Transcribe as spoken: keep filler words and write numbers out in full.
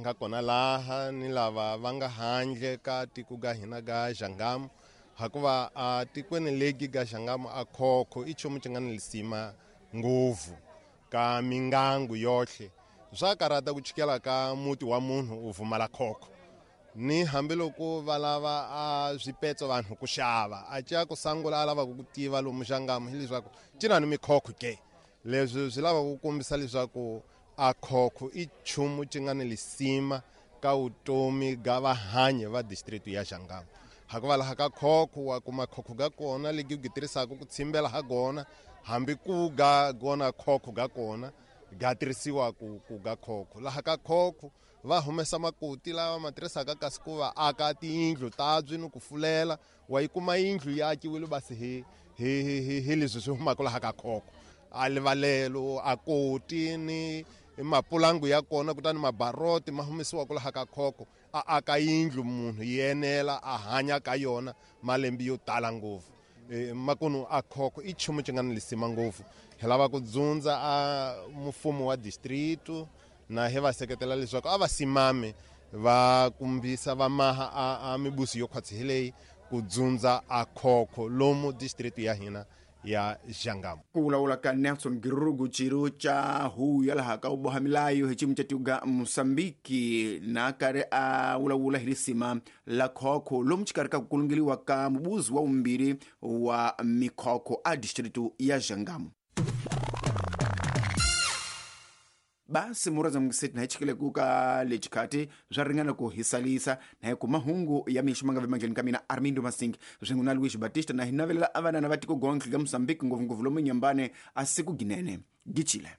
nga kona laha ni lava va nga handle ka tiko ga hina ga Jangamo, hikuva a tikweni legi ga Jangamo a khokho i nchumu xi nga ni lisima ngopfu ka mingangu yohle. Swa karata ku chikela ka muti wa munhu u vumala khokho, ni hambiloko va lava a swipetso vanhu ku xava a ca ku sangula a lavaka ku tiva lomu Jangamo hileswaku ci na ni mikhokho ke. Leswi swi lava ku kombisa leswaku a khokho i nchumu xi nga ni lisima ka vutomi ga vahanyi va district ya Jangamo. Hikuva laha ka khokho wa kuma khokho ga kona legi u tirhisaka ku tshimbela ha gona, hambi ku ga gona khokho ga kona ga tirhisiwa ku ku ga khokho. Laha ka khokho va humesa makoti lawa ma tirhisaka kasi ku va aka tiyindlu tabyi ni ku fulela, wa yi kuma yindlu yi akiwile basi hi hi hi hi leswi swi humaka laha ka khokho. A livalelo a koti ni mapulangu ya kona, kutani mabaroti ma humesiwaka laha ka khokho, a aka yindlu munhu yi enela a hanya ka yona malembe yo tala ngopfu. E, makunu a khokho i nchumu xi nga ni lisima ngopfu. Hi lava ku dzundza a mfumo wa district na hi va seketela leswaku a va simame va kumbisa va maha a, a mibusi yo khwatsi hi leyi ku dzundza a khokho lomu district ya hina ya Jangamo. Ku vulavula ka Nelson Girugu ciro ca huyu ya laha ka u boha milayo hi xiyimo xa tiko ga Mosambiki, na karhi a vulavula hi risima la khokho lomu xikarhi ka ku kulungeliwa ka mubuzi wa vumbirhi wa mikhokho a distritu ya Jangamo. Basi muraza mukiseti na hi ku ka lexikati swa ringana ku hisalisa na hi ku mahungu ya mixo ma nga vemandleni ka mina Armindo Masing swin'we na Luis Batista, na hi navelela a vanana va tiko gontlhe ka Mosambiki ngopfungopfu lomu nyambane a siku ginene gichile.